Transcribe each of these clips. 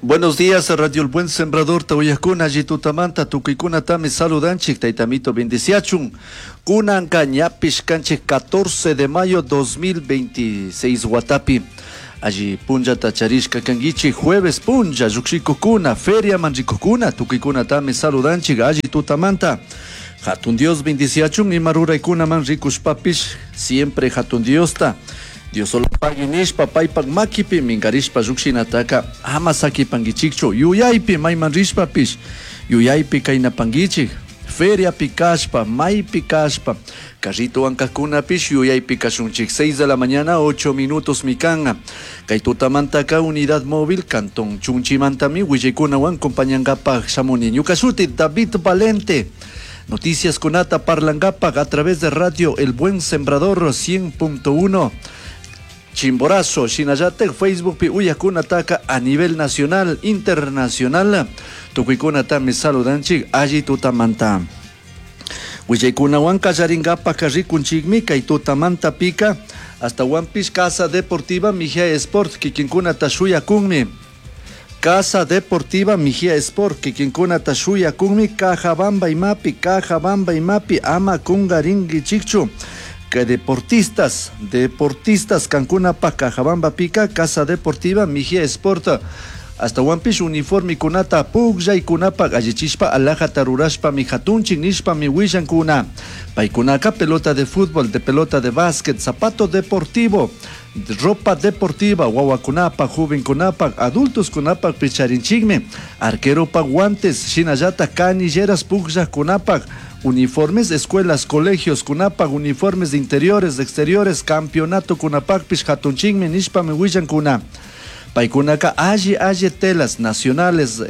Buenos días, Radio El Buen Sembrador, Tauyakuna, Jitutamanta, Tukuikunatami saludanchik, Taitamito bendiciachun. Kunanka ñapish kanchik 14 de mayo 2026 watapi. Allí punllata charishka kanguichik, jueves punlla, llukshikukuna, feria manrikukuna, tukuykunatami saludanchik, alli tutamanta. Hatun Dios bendiciachun, ima ruraykunaman rikushpapish, siempre Hatun Diosta. Dios solo pagui nishpa paypak makipi minkarishpa llukshinataka ama sakipankichikchu yuyaypi mayman rishpapish yuyaypi kaynapankichik feriapi kashpa maypi kashpa carritowan kajkunapish yuyaypi kashunchik. 6 de la mañana 8 minutos mikan kay tutamantaka unidad móvil cantón Chunchimantami willaykunawan compañankapak shamuni. Ñuka shuti David Valente. Noticias kunata parlankapak a través de Radio El Buen Sembrador 100.1 Chimborazo, shinallatak Facebookpi uyakunataka a nivel nacional, internacional. Tukuykunatami saludanchik alli tutamanta. Willaykunawan kallarinkapak rikunchikmi kay tutamanta pika hasta Piece Casa Deportiva Mejía Sport kikinkunata shuyakunmi. Casa Deportiva Mejía Sport kikinkunata shuyakunmi Cajabamba imapi, Cajabamba imapi ama kungarinkichikchu. Que deportistas, deportistas kankunapa Cajabamba pica, Casa Deportiva Mejía Sport. Hasta Piece uniforme kunata pukllaykunapa allichishpa alajata rurashpa mi hatunchik nishpa mi willankuna. Paykunaka pelota de fútbol, de pelota de básquet, zapato deportivo, ropa deportiva, wawakunapa, jovenkunapa, adultos kunapa picharinchikmi, arqueropa guantes, shinallata canilleras pukllaqkunapa, uniformes, escuelas, colegios kunapa, uniformes de interiores, de exteriores, campeonato kunapakpish hatunchikmi nishpa mi willankuna. Paykunaka alli alli telas nacionales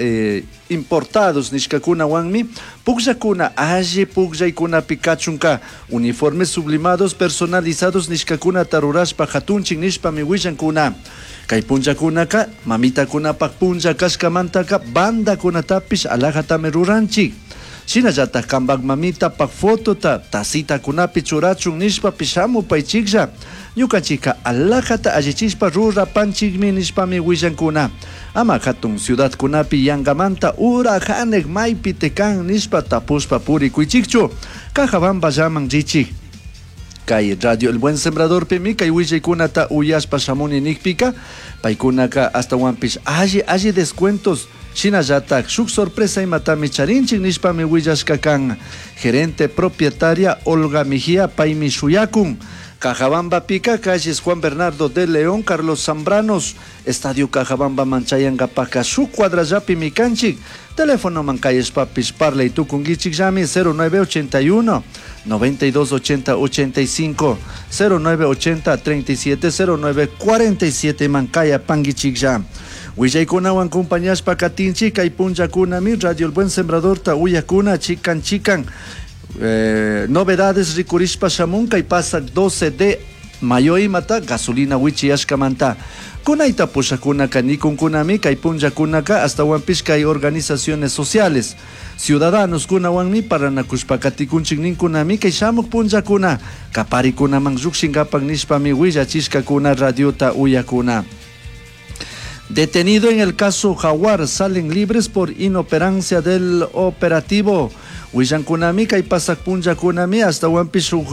importados nishkakunawanmi pukllakuna alli pukllaykunapi kachunka uniformes sublimados personalizados nishkakunata rurashpa hatunchik nishpami willankuna. Kay punllakunaka mamitakunapak punlla kashkamantaka bandakunatapish alajatami ruranchik. Shinallatak kanpak mamitapak fotota tacitakunapi churachun nishpapish hamupaychiklla. Ñukanchikka alajata allichishpa rurapanchikmi nishpami willankuna. Ama hatun ciudadkunapi yankamanta ura hanek maypi tekan nishpa tapushpa purikuychikchu. Cajabamballaman richik. Kay Radio El Buen Sembrador pimi kay willaykunata uyashpa shamuni nikpika paykunaka astawanpish alli alli descuentos shinallatak shuk sorpresa imatami charinchik nishpami willashka kan. Gerente propietaria Olga Mejía paymi shuyakun. Cajabamba pica, calles Juan Bernardo de León, Carlos Zambranos, Estadio Cajabamba Manchayangapaca, su cuadrallapi mikanchik, teléfono mancayes papis parley tukungichik llami 0981 9280 85 0980 37 09 47 mancaya pangichik ya. Willaykunawan compañashpa katinchik kay punllakunami Radio El Buen Sembrador ta uyakuna chikan chikan. Novedades rikurishpa shamun kay pasak 12 de mayo imata gasolina wichiyashkamanta. Kunayta pushakunaka nikunkunami kay punllakunaka astawanpish kay organizaciones sociales. Ciudadanos kunawanmi paranakushpa katikunchik ninkunami kay shamuk punllakuna kaparikunaman llukshinkapak nishpami willachishkakuna radiota uyakuna. Detenido en el caso Jaguar, salen libres por inoperancia del operativo. Willankunami kay pasak punllakunami astawanpish shuk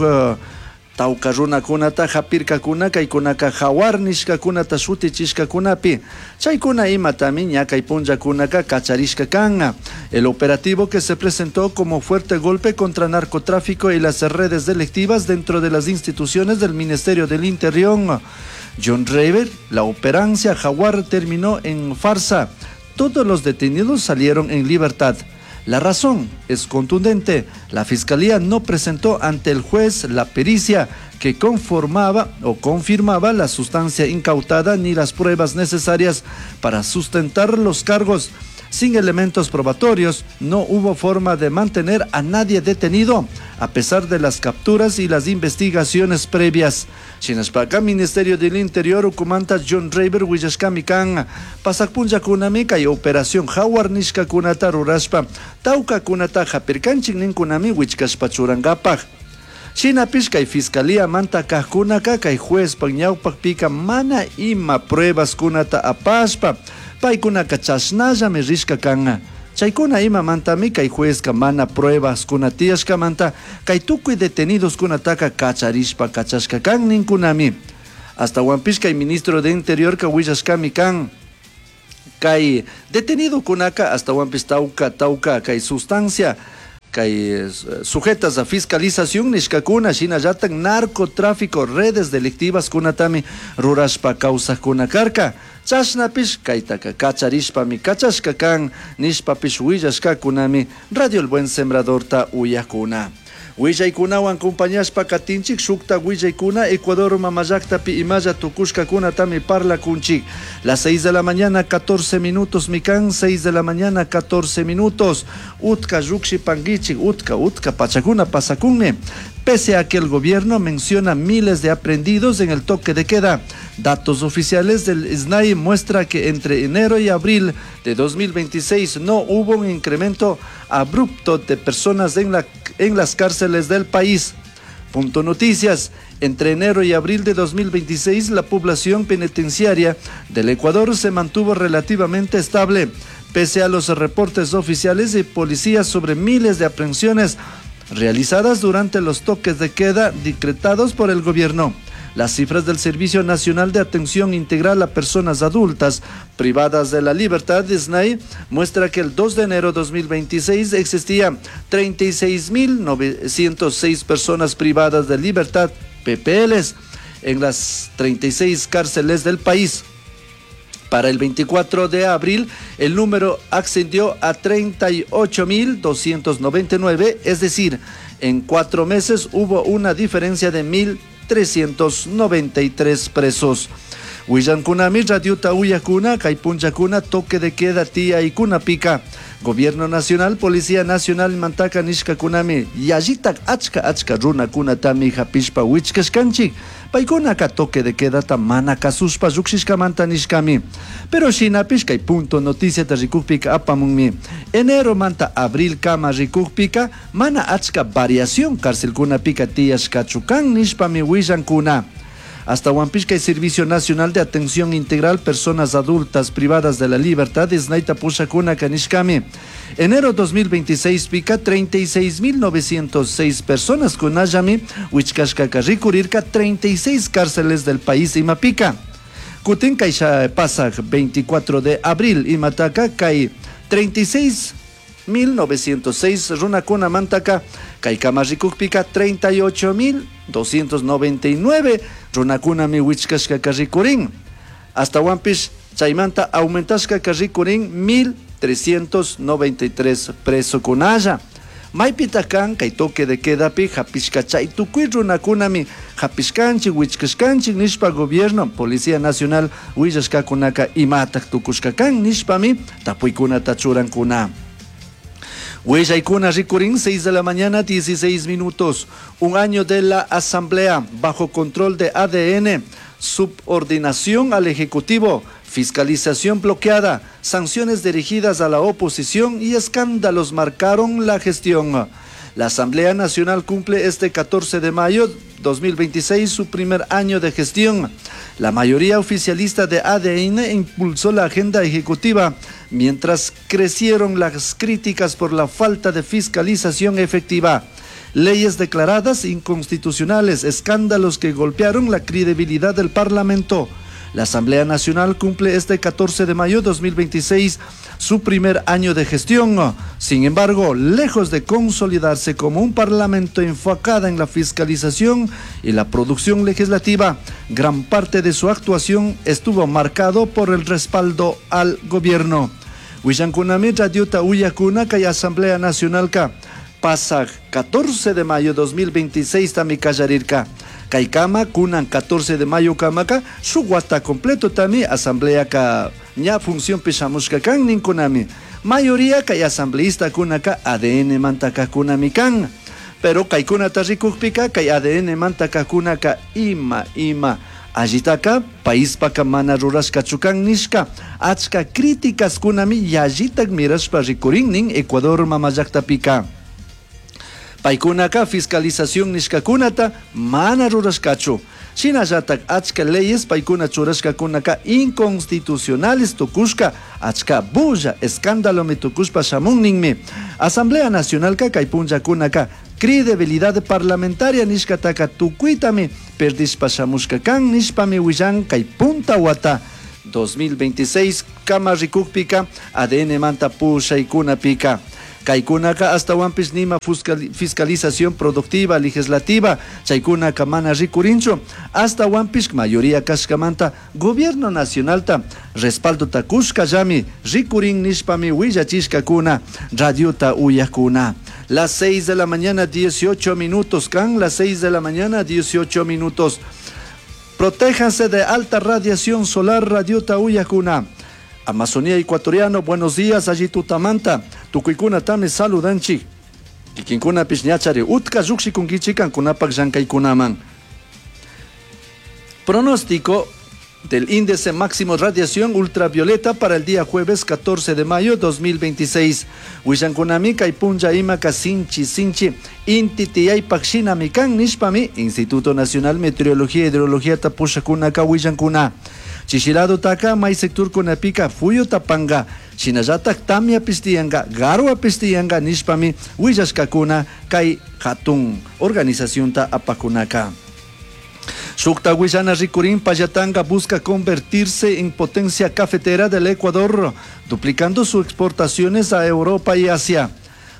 tawka runakunata hapirkakuna kaykunaka Jaguar nishkakunata shutichishkakunapi. Chaykuna imatami ña kay punllakunaka kacharishka kan. El operativo que se presentó como fuerte golpe contra narcotráfico y las redes delictivas dentro de las instituciones del Ministerio del Interior. John Rayber, la operancia Jaguar terminó en farsa. Todos los detenidos salieron en libertad. La razón es contundente. La fiscalía no presentó ante el juez la pericia que conformaba o confirmaba la sustancia incautada ni las pruebas necesarias para sustentar los cargos. Sin elementos probatorios, no hubo forma de mantener a nadie detenido, a pesar de las capturas y las investigaciones previas. Shinashpaka, Ministerio del Interior, ukumanta John Rayber willashkami kan, pasakpunllakunami kay Operación Jaguar nishkakunata rurashpa, tawkakunata hapirkanchik ninkunami wichkashpa churankapak. Shinapish kay Fiscalía manta kajkunaka kay juezpak ñawpakpika mana ima pruebas kunata apashpa, Paykunaka chashnallami rishka kan. Chaykuna imamantami kay juezka mana pruebaskuna tiyashkamanta kay tukuy detenidoskunataka kacharishpa kachashka kan ninkunami. Astawanpish kay ministro de Interiorka willashkami kan. Kay detenidokunaka astawanpish tawka tawka kay sustancia kay sujetas a fiscalización nishkakuna shinallatak narcotráfico redes delictivas kunatami rurashpa kawsakuna karka. Chashnapish kaytaka kacharishpami kachashka kan nishpapish willashkakunami Radio El Buen Sembradorta uyakuna. Willaykunawan compañashpa katinchik shukta willaykuna Ecuador mamallaktapi imalla tukushkakunatami parlakunchik. Las 6 de la mañana 14 minutos mikan, 6 de la mañana 14 minutos. Utka llukshi panguichik, utka utka pachakuna pasakunmi. Pese a que el gobierno menciona miles de aprehendidos en el toque de queda, datos oficiales del SNAI muestra que entre enero y abril de 2026 no hubo un incremento abrupto de personas en las cárceles del país. Punto Noticias. Entre enero y abril de 2026, la población penitenciaria del Ecuador se mantuvo relativamente estable, pese a los reportes oficiales de policías sobre miles de aprehensiones realizadas durante los toques de queda decretados por el gobierno. Las cifras del Servicio Nacional de Atención Integral a Personas Adultas Privadas de la Libertad, SNAI, muestra que el 2 de enero de 2026 existía 36.906 personas privadas de libertad, PPLs, en las 36 cárceles del país. Para el 24 de abril, el número ascendió a 38.299, es decir, en 4 meses hubo una diferencia de 1.393 presos. Willankunami radiota uyakuna, kay punchakuna, toque de queda tía y pica. Gobierno Nacional, Policía Nacional, mantaka nishkakunami, yallitak achka achka runakunatami hapishpa wichkashkanchik. Paykunaka toque de quedata mana kasushpa llukshishkamanta nishkami. Pero shinapish kay Punto Noticiata rikukpika apamunmi. Enero manta abril kama rikukpika mana achka variación cárcelkunapika tiyashkachu kan nishpami willankuna. Hasta kay Servicio Nacional de Atención Integral Personas Adultas Privadas de la Libertad, SNAIta pushakuna kanishkami. Enero 2026 pica 36.906 personas kunallami, wichkashkaka rikurirka 36 cárceles del país imapica. Kutin kaysha pasak 24 de abril imataka kay 36.906 runakuna mantaka kay kama rikukpika 38.299 runakunami wichkashkaka rikurin. Hasta chaymanta aumentashkaka rikurin 1.393 presokunalla. Maypita kan kay toque de quedapi hapishka chay tukuy runakunami hapishkanchik wichkashkanchik nishpa gobierno Policía Nacional willashkakunaka imatak tukushka kan nishpami tapuykunata churankuna. Willaykuna rikurin 6 de la mañana 16 minutos. Un año de la Asamblea bajo control de ADN, subordinación al Ejecutivo, fiscalización bloqueada, sanciones dirigidas a la oposición y escándalos marcaron la gestión. La Asamblea Nacional cumple este 14 de mayo 2026 su primer año de gestión. La mayoría oficialista de ADN impulsó la agenda ejecutiva, mientras crecieron las críticas por la falta de fiscalización efectiva. Leyes declaradas inconstitucionales, escándalos que golpearon la credibilidad del Parlamento. La Asamblea Nacional cumple este 14 de mayo 2026 su primer año de gestión. Sin embargo, lejos de consolidarse como un parlamento enfocado en la fiscalización y la producción legislativa, gran parte de su actuación estuvo marcado por el respaldo al gobierno. Willankunami radiota uyakuna kay Asamblea Nacional ka pasa 14 de mayo 2026 tami kallarirka. Kaykama kunan 14 de mayo kamaka shuk wata completo tami asamblea ka ña función pishamushka kan ninkunami. Mayoría kay asambleísta kunaka ADN mantaka kunami kan. Pero kaykunata rikukpika kay ADN mantaka kunaka ima ima. Allitaka paispaka mana rurashkachu kan nishka. Achka críticas kunami yallitak mirashpa rikurin Ecuador mamallaqtapika. Paykunaka fiscalización nishkakunata mana rurashkachu. Shinallatak achka leyes paykuna churashkakunaka inconstitucionales tukushka, achka bulla, escándalomi tukushpa shamun ninmi. Asamblea Nacionalka kay punllakunaka credibilidad parlamentaria nishkataka tukuytami perdishpa shamushka kan nishpami willan kay punta wata 2026 kama rikukpika ADN manta pushaykunapika. Kaykunaka astawanpish nima fiscalización productiva legislativa chaykunaka mana rikurinchu, astawanpish mayoría kashkamanta gobierno nacionalta respaldota kushkallami rikurin nishpami willachishkakuna radiota uyakuna. Las 6 de la mañana 18 minutos, kan las 6 de la mañana 18 minutos. Protéjanse de alta radiación solar, radiota uyakuna. Amazonía ecuatoriano, buenos días, allí tutamanta, tukuykuna tami saludanchik. Kikinkunapish ñachari utka llukshikunkichik kankunapak llankaykunaman. Pronóstico del índice máximo radiación ultravioleta para el día jueves 14 de mayo 2026. Willankunami kay punlla imaka sinchi sinchi inti tiyaypak shinami kan nishpami Instituto Nacional Meteorología e Hidrología tapushakunaka willankuna. Chishilado taka may sector kunapika fuyu tapanga, shinallatak tamya pistiyanga, garwa pistiyanga nishpami willashkakuna kay hatun organizacionta apakunaka. Shukta willana rikurin Pallatanga busca convertirse en potencia cafetera del Ecuador, duplicando sus exportaciones a Europa y Asia.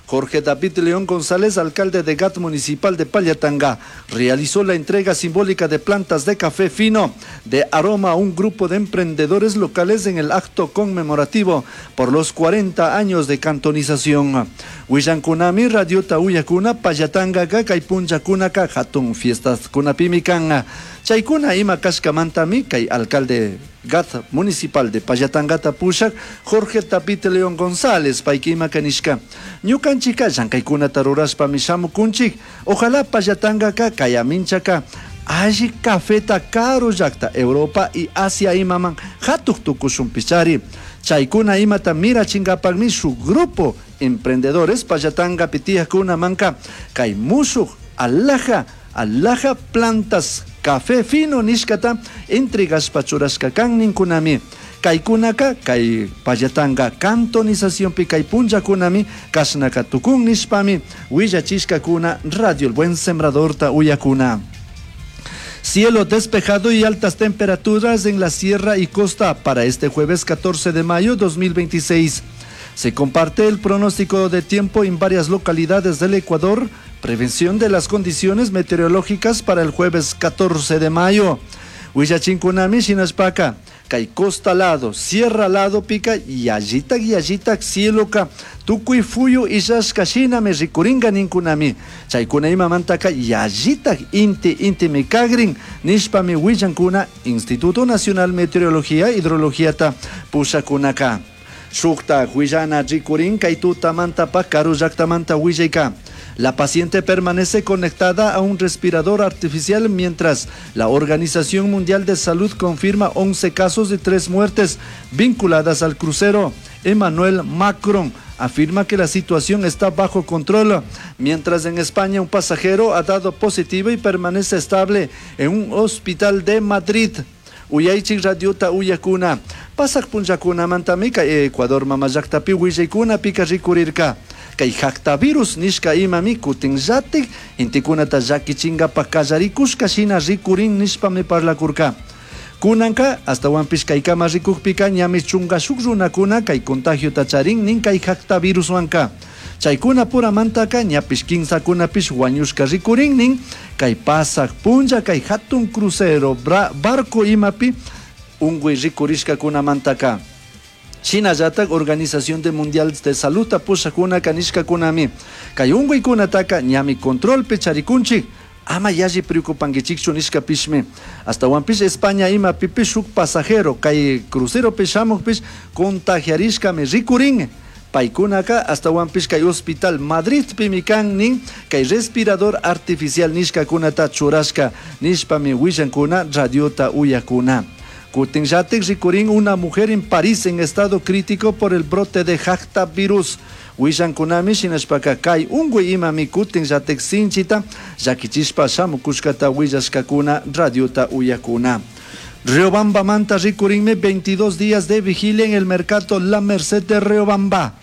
Jorge David León González, alcalde de GAT Municipal de Pallatanga, realizó la entrega simbólica de plantas de café fino de aroma a un grupo de emprendedores locales en el acto conmemorativo por los 40 años de cantonización. Willankunami, Radiota Uyakuna, Pallatanga, kay punllakunaka, hatun fiestas kunapimikan. Chaykuna ima kashkamantami, kay alcalde GAT Municipal de Pallatangata pushak, Jorge David León González, payka ima kanishka. Ñukanchika llankaykunata rurashpami shamukunchik, ojalá Pallatangaka kayaminchaka alli cafeta karu llakta Europa y Asia imaman hatuk tukushunpichari. Chaykuna imata mirachinkapakmi su grupo emprendedores Pallatanga pitiyakuna manka kay mushuk alhaja, alhaja plantas café fino nishkata entregashpa churashka kan ninkunami. Kaykunaka kay Pallatanga cantonizacionpi kay punllakunami kashnaka tukun nishpami willachishkakuna Radio El Buen Sembradorta uyakuna. Cielo despejado y altas temperaturas en la sierra y costa para este jueves 14 de mayo 2026. Se comparte el pronóstico de tiempo en varias localidades del Ecuador. Prevención de las condiciones meteorológicas para el jueves 14 de mayo. Willachinkunami shinashpaka, kay costa lado, sierra lado pica, yallitak yallitak cieloka, tukuy fuyu illashka shinami rikuringa ninkunami. Chaykuna imamantaka yallitak inti inti mikagrin, nishpami willankuna Instituto Nacional Meteorología Hidrologíata pushakunaka. Shukta willana rikurin kay tutamantapak karu llaktamanta willayka. La paciente permanece conectada a un respirador artificial mientras la Organización Mundial de Salud confirma 11 casos y 3 muertes vinculadas al crucero. Emmanuel Macron afirma que la situación está bajo control, mientras en España un pasajero ha dado positivo y permanece estable en un hospital de Madrid. Uyaychik radiota uyakuna, pasak punllakuna mantamika Ecuador mamallaktapi willaykuna pika rikurirka. Kay virus nishka imami kutinllatik intikunata llakichinkapa kallarikushka shina rikurin nishpami parlakurka. Kunanka astawanpish kaykama rikukpika ñami chunka shuk runakuna kay contagiota charin nin kay viruswanka. Chaykuna puramantaka ñapish kinsakunapish wañushka rikurin nin kay pasak punlla kay hatun crucero barco imapi unguy rikurishkakunamantaka. Shinallatak Organización de Mundial de Salud pushakuna kanishkakunami kay unkuykunataka ñami controlpi charikunchik ama yalli preocupankichikchu nishkapishmi. Astawanpish España imapipish shuk pasajero kay cruceropi shamukpish contagiarishkami rikurin. Paykunaka astawanpish kay hospital Madridpimi kan nin kay respirador artificial nishkakunata churashka nishpami willankuna radiota uyakuna. Kutinllatik rikurin una mujer en París en estado crítico por el brote de jacta virus. Willankunami shinashpaka kay unkuy imami kutinllatik sinchita llakichishpa shamukushkata willashkakuna radiota uyakuna. Riobamba manta rikurinmi 22 días de vigilia en el mercado La Merced de Riobamba.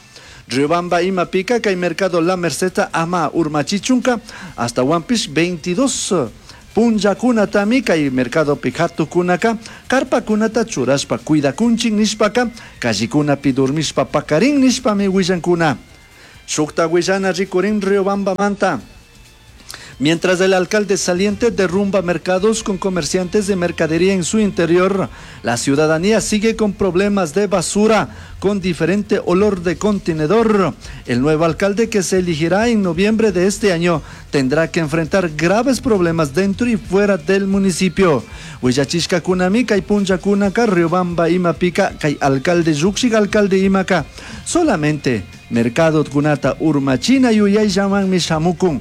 Riobamba imapika kay mercado La Merced ama urmachichunka hasta Wampish 22 punllakunatami kay mercadopi hatukunaka karpakunata churashpa cuidakunchin nishpaka callikunapi durmishpa pakarin nishpami willankuna. Shukta willana rikurin Riobamba manta. Mientras el alcalde saliente derrumba mercados con comerciantes de mercadería en su interior, la ciudadanía sigue con problemas de basura, con diferente olor de contenedor. El nuevo alcalde que se elegirá en noviembre de este año tendrá que enfrentar graves problemas dentro y fuera del municipio. Huillachishka kunami kay punllakunaka Riobamba imapika kay alcalde llukshik alcalde imaka. Solamente mercado kunata urmachina yuyayllamanmi shamukun.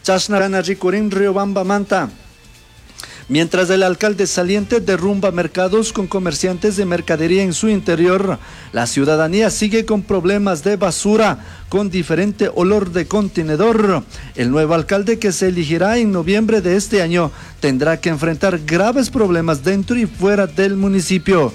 Chashnarana rikurin Riobamba manta. Mientras el alcalde saliente derrumba mercados con comerciantes de mercadería en su interior, la ciudadanía sigue con problemas de basura, con diferente olor de contenedor. El nuevo alcalde que se elegirá en noviembre de este año tendrá que enfrentar graves problemas dentro y fuera del municipio.